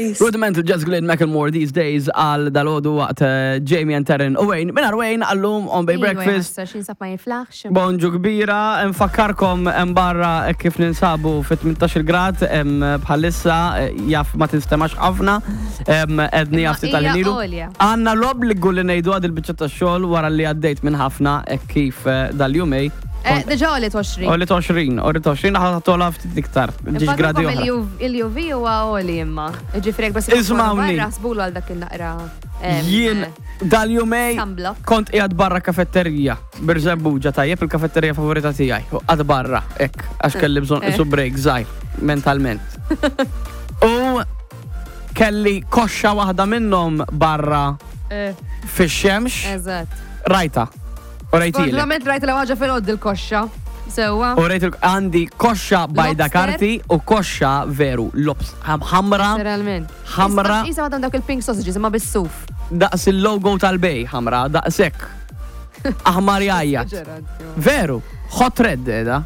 days. Rudimental Jazz Glynn Macklemore These Days għal dalodu waqt eh, Jamie and Taryn u Wayne. Minar Wayne għallum on Bay Breakfast. X'insab ma jiflaħx. Bonġu kbira, nfakkarkom hemm barra eh, kif ninsabu fi 18 grad em, bħalissa eh, jaf ma tinstemax ħafna em, edni jaf Imma hija tal-inilu. għolja. Għanna l-obbligu li ngħidu għad il-biċċa tax-xogħol wara li għaddejt minn ħafna eh, kif eh, dal-jumej. Eh, Diġà għolit 20. Għolit 20, għolit 20, ħatola ftit iktar, ġiġ gradi Infakkarkom oħra. Il-UV huwa għoli imma. Ġifieri jekk bas Ismawni. Rasbulu għal dak il-naqra. Jien dal-jumej Sunblock. kont qiegħed barra kafetterija Birżebbuġa tajjeb il-kafetterija favorita tiegħi. U Qgħad barra hekk għax kelli bżonn isu break żgħir mentalment. U kelli koxxa waħda minnhom barra fix-xemx Eżatt. rajta. U rajtili. Fortunatament rajt l ħaġa fil-għod il-koxxa. Sewwa. U rajt għandi koxxa bajda Lobster. karti u koxxa veru lobs ħamra Literalment. ħamra. Isa għadhom dawk il-pink sausages imma bis-suf. daqs il-logo tal-bej ħamra daqshekk. Aħmar jgħajjat. Veru, hot red edha.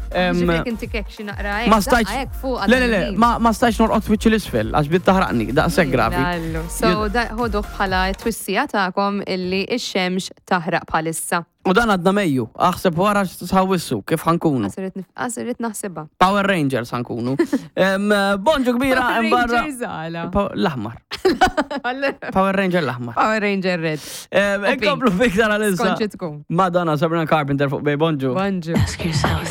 Ġifieri inti kek xi naqra hekk. Ma stajtx. daqqa hekk fuq Le, le, le, ma stajtx norqod wiċċi l-isfel, għax bdiet taħraqni, daqshekk gravi. Lallu. So, da- ħoduh bħala twissija tagħkom illi x-xemx taħraq bħalissa. U dan għadna Mejju, aħseb wara sħawissu, kif ħankunu. Għasirit naħsibha. Power Rangers ħankunu. Bonġu kbira, Power hemm barra. Rangers għala. L-aħmar. Power Ranger l-aħmar. Power Ranger Red. Inkomplu fiktar għal-issa. Skont xi tkun. Madonna, Sabrina Carpenter fuq Bej Bonġu. Bonġu. Ask yourself.